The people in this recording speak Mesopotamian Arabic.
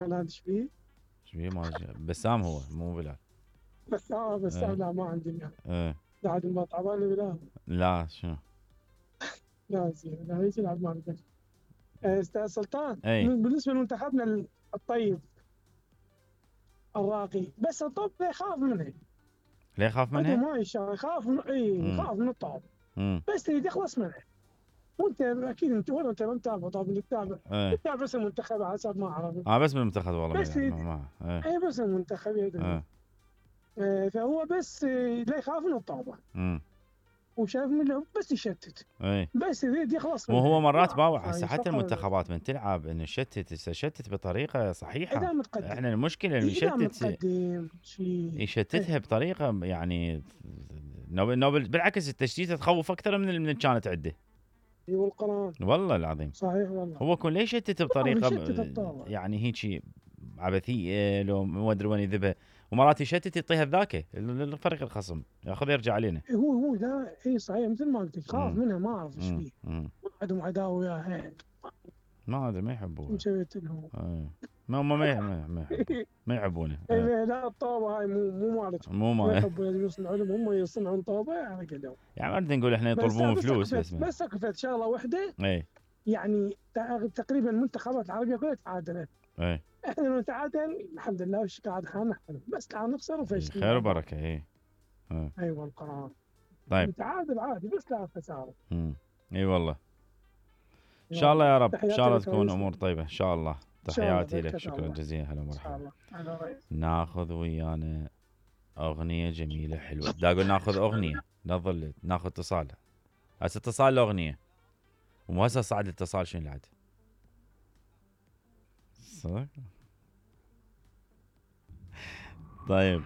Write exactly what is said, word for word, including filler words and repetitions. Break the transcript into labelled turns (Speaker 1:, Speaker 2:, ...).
Speaker 1: هذا ايش بيه؟
Speaker 2: ايش بيه ما بسام هو مو بلال.
Speaker 1: بس اه بس
Speaker 2: ايه
Speaker 1: لا ما عندي يعني.
Speaker 2: ايه
Speaker 1: بعد ما تعبان بلال.
Speaker 2: لا شنو؟
Speaker 1: لا زين لا هيك يلعب مع البنك. آه، استاذ سلطان
Speaker 2: اي
Speaker 1: بالنسبه لمنتخبنا الطيب الراقي، بس الطب يخاف منه.
Speaker 2: ليه خاف
Speaker 1: عنده
Speaker 2: منها؟
Speaker 1: ما يشاء يخاف من اي
Speaker 2: امم
Speaker 1: يخاف من الطب.
Speaker 2: امم
Speaker 1: بس تريد يخلص منه. وانت اكيد انت ولا انت ما متابع طبعا اللي تتابع.
Speaker 2: ايه
Speaker 1: تتابع بس المنتخب على حسب ما اعرف.
Speaker 2: اه بس بالمنتخب والله ما
Speaker 1: بس
Speaker 2: يلعب
Speaker 1: تريد
Speaker 2: ما ما ايه
Speaker 1: اي بس المنتخب يدري.
Speaker 2: ايه
Speaker 1: آه، فهو بس آه، لا يخاف من الطابة.
Speaker 2: امم
Speaker 1: وشايف منه بس يشتت.
Speaker 2: ايه
Speaker 1: بس يريد يخلص
Speaker 2: مو هو
Speaker 1: منها
Speaker 2: مرات
Speaker 1: ما
Speaker 2: باوع هسه
Speaker 1: فاهم
Speaker 2: حتى
Speaker 1: فقر.
Speaker 2: المنتخبات من تلعب انه شتت تشتت بطريقه صحيحه.
Speaker 1: اذا متقدم
Speaker 2: احنا المشكله انه
Speaker 1: اذا
Speaker 2: يشتت
Speaker 1: متقدم شيء.
Speaker 2: يشتتها بطريقه يعني نوبل نوبل بالعكس التشتيت تخوف اكثر من من كانت عنده.
Speaker 1: اي والقران.
Speaker 2: والله العظيم
Speaker 1: صحيح والله.
Speaker 2: هو كون ليش يشتت
Speaker 1: ما
Speaker 2: بطريقه
Speaker 1: يشتت الطابة.
Speaker 2: يعني هيك عبثيه لو ما ادري وين يذبها. ومرات يشتت يعطيها ذاك الفريق الخصم ياخذ يرجع علينا.
Speaker 1: هو هو لا اي صحيح مثل ما قلت يخاف
Speaker 2: امم
Speaker 1: منها ما اعرف ايش
Speaker 2: امم
Speaker 1: فيه.
Speaker 2: امم
Speaker 1: عندهم عداوه وياها.
Speaker 2: ما ادري ما
Speaker 1: شو
Speaker 2: يحبوها.
Speaker 1: مسويت لهم؟
Speaker 2: ايه ما هم ما ما ما يحبوا ما يحبونه. ايه
Speaker 1: لا الطابة هاي مو مو مالتهم.
Speaker 2: مو
Speaker 1: ما
Speaker 2: ما
Speaker 1: يحبوا يصنعوا لهم هم يصنعون طابة على قدهم.
Speaker 2: يعني ما نريد نقول احنا
Speaker 1: بس
Speaker 2: يطلبون
Speaker 1: بس
Speaker 2: فلوس
Speaker 1: سقفت
Speaker 2: بس ما
Speaker 1: بس سقفت شغله واحده.
Speaker 2: ايه
Speaker 1: يعني تقريبا المنتخبات العربيه كلها تعادلت.
Speaker 2: ايه
Speaker 1: احنا لو نتعادل الحمد لله وش قاعد خاننا حلو، بس تعال نخسر
Speaker 2: إيه،
Speaker 1: وفشل
Speaker 2: خير
Speaker 1: مع بعض.
Speaker 2: وبركه ايه. اه
Speaker 1: ايوه القرار.
Speaker 2: طيب
Speaker 1: نتعادل عادي بس لا خساره.
Speaker 2: امم اي والله ان شاء الله
Speaker 1: والله
Speaker 2: يا رب ان شاء
Speaker 1: تحياتي
Speaker 2: الله
Speaker 1: لك
Speaker 2: تكون
Speaker 1: رئيسنا.
Speaker 2: امور طيبه ان شاء الله.
Speaker 1: ان شاء الله
Speaker 2: تحياتي لك
Speaker 1: بركه
Speaker 2: شكرا
Speaker 1: الله.
Speaker 2: جزيلا هلا
Speaker 1: ان شاء
Speaker 2: ومرحبا.
Speaker 1: الله على رئيس.
Speaker 2: ناخذ ويانا اغنيه جميله حلوه دا اقول ناخذ اغنيه لا تظل ناخذ اتصال. هسه اتصال لاغنيه ومو هسه صعد الاتصال شنو العاد صح. طيب